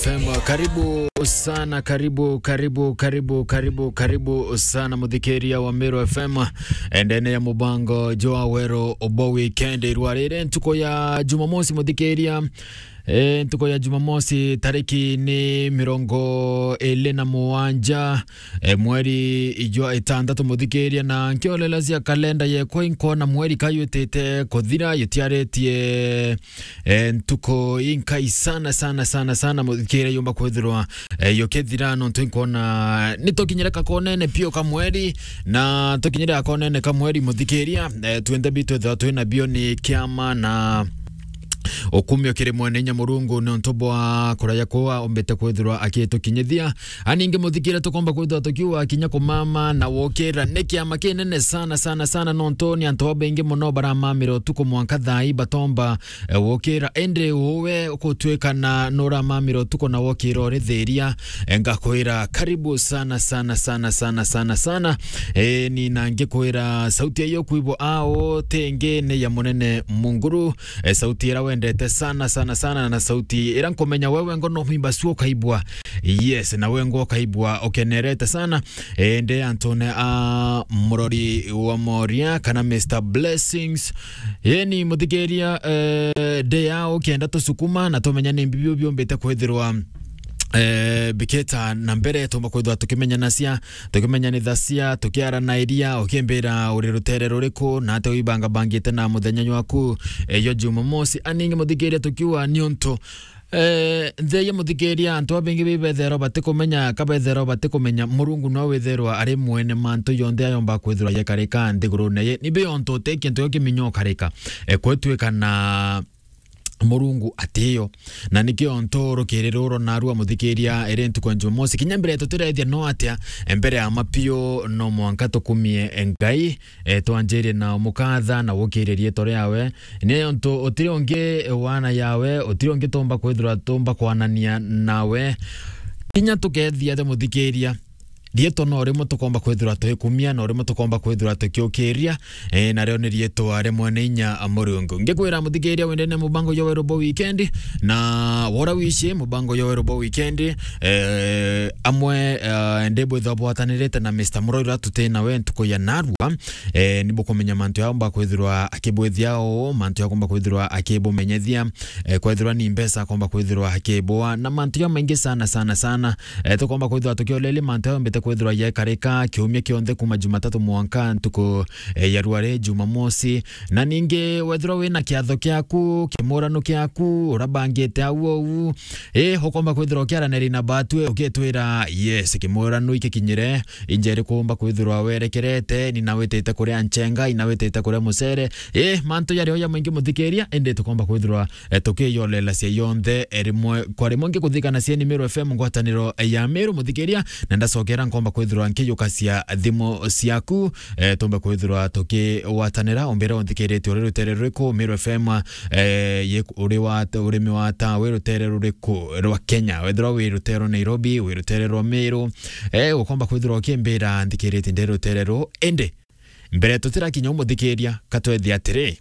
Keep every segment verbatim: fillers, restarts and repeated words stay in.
F M. Karibu sana, karibu, karibu, karibu, karibu, karibu sana, muthikiria wa Meru F M. Endene ya mubango jwa Weru Obo Weekend. Rwa riri ntuku ya Jumamosi, muthikiria. E, ntuku ya Jumamosi, tariki ni mirongo iri na mugwanja, e, mweri jwa itantatu, muthikiria, na nkiolela cia kalenda yekwa inkona mweri kayutite kuthira, yutiaritie e, ntuku inkai sana, sana, sana, sana, muthikiria, yumba kwithirwa, e, yukithira, nontu inkona ni tukinyire kakonene pio ka mweri, na tukinyire kakonene ka mweri, muthikiria, e, twinthe bitu ethirwa twina bio ni kiama na ukumio kiri mwene inya Murungu, nontu bwa kuraya kwa umbite kwithirwa akitukinyithia. Aningi muthikiria, tukomba kwithirwa tukiuga kinya kumama na wokira ni kiama kinene sana, sana, sana, nontu ni antu babaingi muno baramamira utuku mwanka thaa ii batomba e, wokira. Indi uwe ukutwika na nuramamira utuku na wokira urithiria, e, ngakwira karibu sana, sana, sana, sana, sana, sana. E, ni na ngikwira sauti iyo kwibwa ao tingi ni ya munene Munguru, e, sauti ira wendete sana, sana, sana, na sauti ira nkumenya wewe ngono himba suo kaibwa. Yes, na we ngo kaibwa ukenerete sana. E, nde antone a murori wa moria kana Mister Blessings. Yeni muthikiria, eh, nde ya ukienda tusukuma na tumenya ni mbibio biombite kwithirwa, eh, biketa na mbere, tumba kwithirwa tukimenyanacia, tukimenyanithacia, tukiaranairia, ukimbira uri rutere ruriku, na ate wibangabangite na muthenya jwaku, eh, yo Jumamosi. Aningi muthikiria tukiuga ni untu Eh, nthia muthikiria, antu babaingi bibethero batikumenya, kabethero batikumenya, Murungu no withirwa ari mwene mantu yonthe ayomba kwithirwa yekarika nthigurune ye. Ni biontu uti kintu gio kiminyo ukarika. E, kwetwika na Murungu atiyo. Na nikio ntu rukiri ruru narua muthikiria, iri ntuku ya Jumamosi. Kinya mbere tutirethia no atia, e, mbere ya mapio no mwanka tukumie Ngai, e, twanjirie na umukatha na gukiria riitwa riawe. Ni untu utiri ungi wana yawe, utiri ungi tumba kwithirwa tumba kwanania nawe. Kinya tukethia te muthikiria, riitwa no rimwe tukomba kwithirwa tuikumia, no rimwe tukomba kwithirwa tukiukiria, e, nario ni riitwa ria mwene inya Murungu. Ngikwira muthikiria wendene mubango jwa Weru Obo Weekend, na wora wici mubango jwa Weru Obo Weekend, e, amwe, e, ndi bwithwa bwatanirite na Mister Murori uria tuti nawe ntuku ya narua, eh, ni bukumenya mantu yao mba kwithirwa akibwithia uu, mantu yao kumba kwithirwa akibumenyethia, eh, kwethirwa ni mbeca akomba kwithirwa akibua, na mantu yao maingi sana, sana, sana. Eh, tukomba kwithirwa tukiolelia mantu yao mbite kwithirwa yekarika kiumia kionthe kuma Jumatatu mwanka ntuku, eh, ya rware Jumamosi. Na ningi wethirwa wina kiatho kiaku, kimurano kiaku, urabangite au ou, eh, ukomba kwithirwa ukiaraneri na batwe, ukitwira, yes, kimurano ikikinyire, injeri kumba kwithirwa werekerete, ni nawitite kuria nchenga, inawitite kuria mucere. Eh, mantu yari oya maingi muthikiria, indi tukomba kwithirwa, eh, tukiyolelacia yonthe, eh, rimwe kwa rimwe. Ngikuthikanacia ni Meru F M, ngwataniro ya Meru muthikiria, na ndacokera nkomba kwithirwa nkiyukacia thimu ciaku, eh, tumbe kwithirwa tukigwatanira. Umbire unthikiritie uri rutere ruriku, Meru F M, eh, ye-, uri wa, urimi wa ta, wi rutere ruriku rwa Kenya? Wethirwa wi rutere rwa Nairobi, wi rutere rwa Meru, eh, ukomba kwithirwa ukimbira nthikiritie ndi rutere ru. Indi, mbere tutirakinya umuthikiria, katwethie atiri,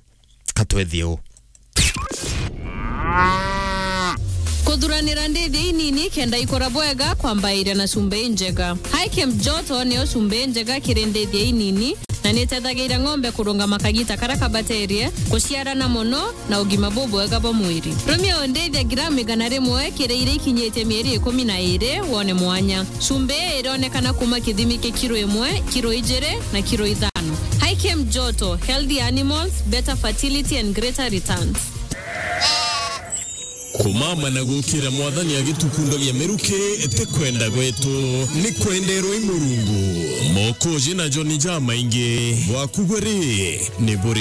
katwethie u. Kuthuranira ndithia inini kenda ikura bwega kwambairia na cumbi injega. Hikem Joto niyo cumbi injega kiri ndithia inini, na nitethagiria ng'ombe kurungama kagita karia kabaterie, kuciarana mono, na ugima bubwega bwa mwiri. Rumia undithia gramu igana rimwe kiri iria ikinyitie mieri ikumi na iri, wone mwanya. Cumbi ii ironekana kuma kithimi kia kiro imwe, kiro ijiri, na kiro ithano. Hikem Joto, healthy animals, better fertility and greater returns. Kumama na gukira Mwathani agitukundagia miruki ti kwenda gwetu, ni kwenderwa i Murungu. Mokoji na joni jamaingi, bwaku bwe ri, ni buri